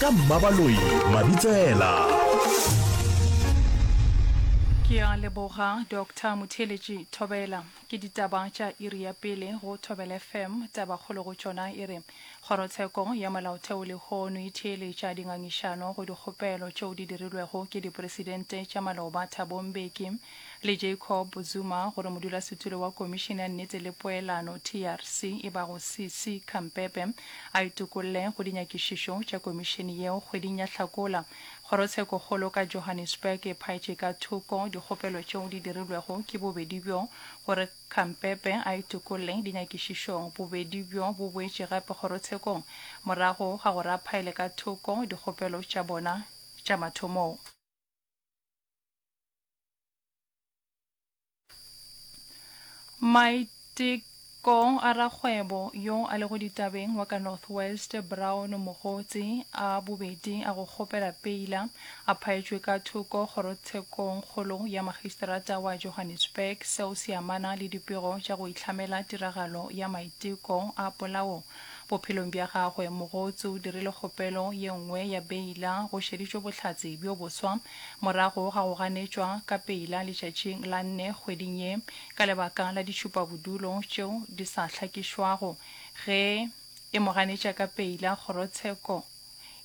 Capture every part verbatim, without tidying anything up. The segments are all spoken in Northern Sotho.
Ka Mmabaloi Mabitsela. Ke a leboga Doctor Motheeletši Thobela. Ke ditaba tša iri ya pele go Thobela F M. Tabakgolo go tšona e re Kgorotsheko ya Molaotheo lehono e theeletša dingangišano go dikgopelo tšeo di dirilwego ke dipresidente tša maloba Thabo Mbeki le Jacob Zuma gore modulasetulo wa Komišene ya Nnete le Poelano, T R C, e bago C C Khampepe a itokolle go dinyakišišo tša komišene yeo kgweding ya Hlakola. Kgorotshekokgolo ka Johannesburg e phaetše ka thoko dikgopelo tšeo di dirilwego ke bobedi bjo gore Khampepe a itokolle dinyakišišong. Bobedi bjo bo boetše gape kgorotshekong morago ga gore a phaele ka thoko dikgopelo tša bona tša mathomong. Maiteko a rakgwebo yo a lego ditabeng wa ka North West, Brown Mogotsi, a bobedi a go kgopela peila a phaetšwe ka thoko Kgorotshekongkgolo ya Magistrata wa Johannesburg. Seo se amana le dipego tša go ihlamela tiragalo ya maiteko a polao bophelong bja gagwe. Mogotsi o dirile kgopelo ye nngwe ya beila go šeditšwe bohlatse bjo boswa morago ga go ganetšwa ka peila letšatšing la nne kgweding ye ka lebaka la ditšhupabodulo tšeo di sa hlakišwago. Ge e mo ganetša ka peila, kgorotsheko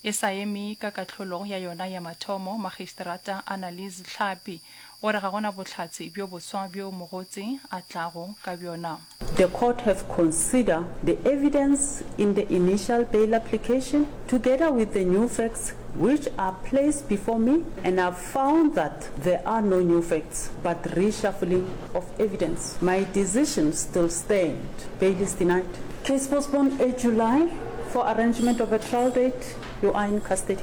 e sa eme ka kahlolo ya yona ya mathomo. Magistrata Annalise Tlhapi o re ga gona bohlatse bjo boswa bjo Mogotsi a tlago ka bjona. The court have considered the evidence in the initial bail application together with the new facts which are placed before me and I've found that there are no new facts but reshuffling of evidence. My decision still stand. Bail is denied. Case postponed eight July for arrangement of a trial date. You are in custody.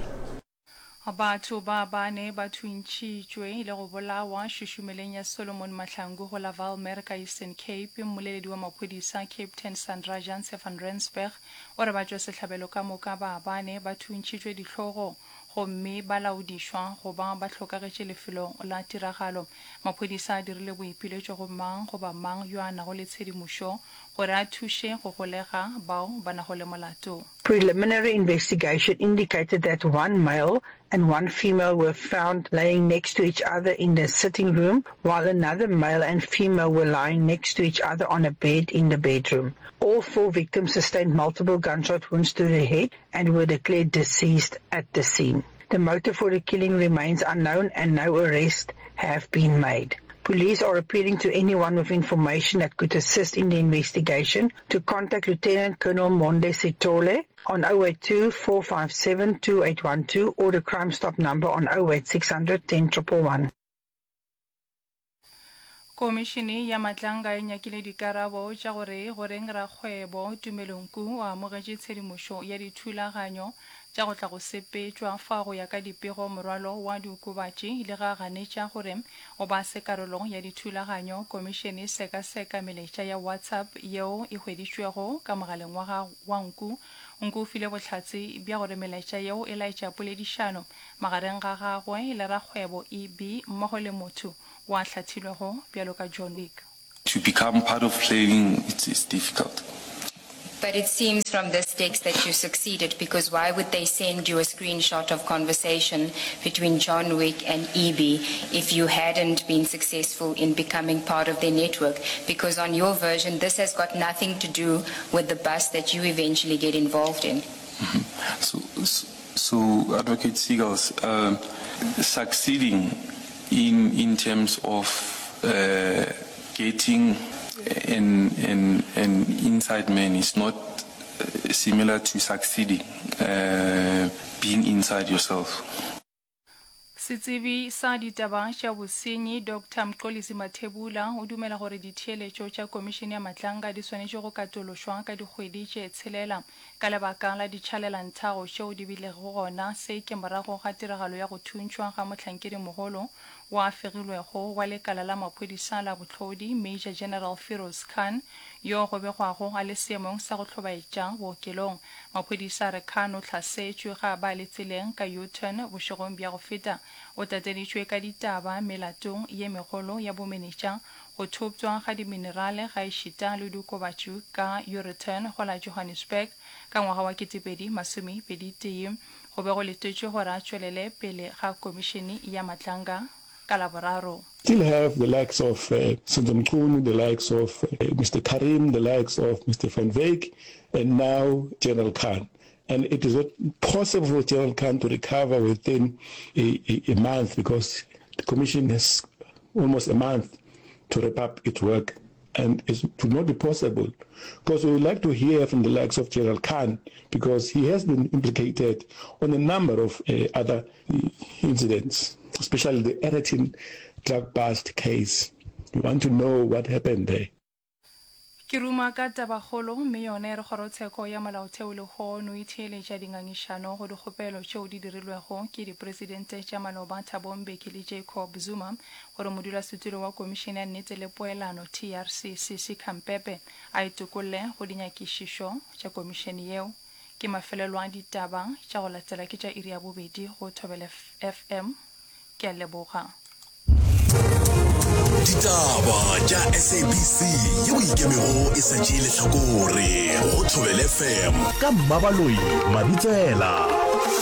Batho ba bane ba thuntšhitšwe le go bolawa šušumeleng ya Solomon Mahlangu go la Walmer ka Eastern Cape. Mmoleledi wa maphodisa Captain Sandra Janse van Rensburg o re batšwasehlabelo ka moka ba bane ba thuntšhitšwe dihlogong gomme ba laodišwa go ba ba hlokagetše lefelong la tiragalo. Maphodisa a dirile boipiletšo go mang goba mang yo a nago le tshedimošo gore a thuše go golega bao ba nago le molato. Preliminary investigation indicated that one male and one female were found laying next to each other in the sitting room, while another male and female were lying next to each other on a bed in the bedroom. All four victims sustained multiple gunshot wounds to the head and were declared deceased at the scene. The motive for the killing remains unknown and no arrests have been made. Police are appealing to anyone with information that could assist in the investigation to contact Lieutenant Colonel Monde Sitole on oh eight two four five seven two eight one two or the Crime Stop number on oh eight six hundred ten one one one. Komišene ya Matlanga e nyakile dikarabo tša gore goreng rakgwebo Tumelo Nku o amogetše tshedimošo ya dithulaganyo tša go tla go sepetšwa fa go ya ka dipego morwalo wa diokobatši le ga ganetša gore o ba se karolo ya dithulaganyo. Komišene e sekaseka melaetša ya WhatsApp yeo e hweditšwego ka mogaleng wa ga wa Nku. Nku o file bohlatse bja gore melaetša yeo e laetša poledišano magareng ga gagwe le rakgwebo E B mmogo le motho wa hlathilwego bjalo ka John Wick. To become part of planning, it's, it's difficult. But it seems from this text that you succeeded, because why would they send you a screenshot of conversation between John Wick and E B if you hadn't been successful in becoming part of their network? Because on your version, this has got nothing to do with the bus that you eventually get involved in. So, so, so Advocate Seagulls, uh, succeeding in, in terms of uh, getting an, an, an inside man is not uh, similar to succeeding uh, being inside yourself. Setsebi sa ditaba tša bosenyi Doctor Mxolisi Mathebula o dumela gore ditheeletšo tša Komišene ya Matlanga di swanetše go katološwa ka dikgwedi tše tshelela ka lebaka la ditšhalelanthago tšeo di bilego gona. Se ke morago ga tiragalo ya go thuntšhwa ga mohlankedimogolo wa fegilwego wa lekala la maphodisa la bohlodi Major General Firoz Khan yo go begwago a le seemong sa go hlobaetša bookelong. Maphodisa a re Khan o hlasetšwe ga ba le tseleng ka U-turn bošegong bja go feta. O tateditšwe ka ditaba melatong ye megolo ya bomenetša, go thopšwa ga diminerale ga ešita le diokobatši ka U-return go la Johannesburg ka ngwaga wa ketepedi masomepedi tee. Go be go letetšwe gore a tšwelele pele ga Komišene ya Matlanga ka Laboraro. Still have the likes of uh, Senzo Mchunu, the likes of uh, Mr. Carrim, the likes of Mr. Van Wyk, and now General Khan. And it is not possible for General Khan to recover within a, a, a month because the commission has almost a month to wrap up its work. And it would not be possible because we would like to hear from the likes of General Khan because he has been implicated on a number of uh, other incidents, especially the Aeroton drug bust case. We want to know what happened there. Ke ruma ka tabakgolo mme yona e re kgorotsheko ya molaotheo lehono e theeletša dingangišano go dikgopelo tšeo di dirilwego ke dipresidente tša maloba Thabo Mbeki le Jacob Zuma gore modulasetulo wa Komišene ya Nnete le Poelano TRC Sisi Khampepe a itokolle go dinyakišišo tša komišene yeo. Ke mafelelo a ditaba tša go latela ke tša iri ya bobedi go Thobela FM. Ke a leboga. Ditaba tša SABC yeo ikemego e sa tšee lehlakore go Thobela FM ka Mmabaloi Mabitsela.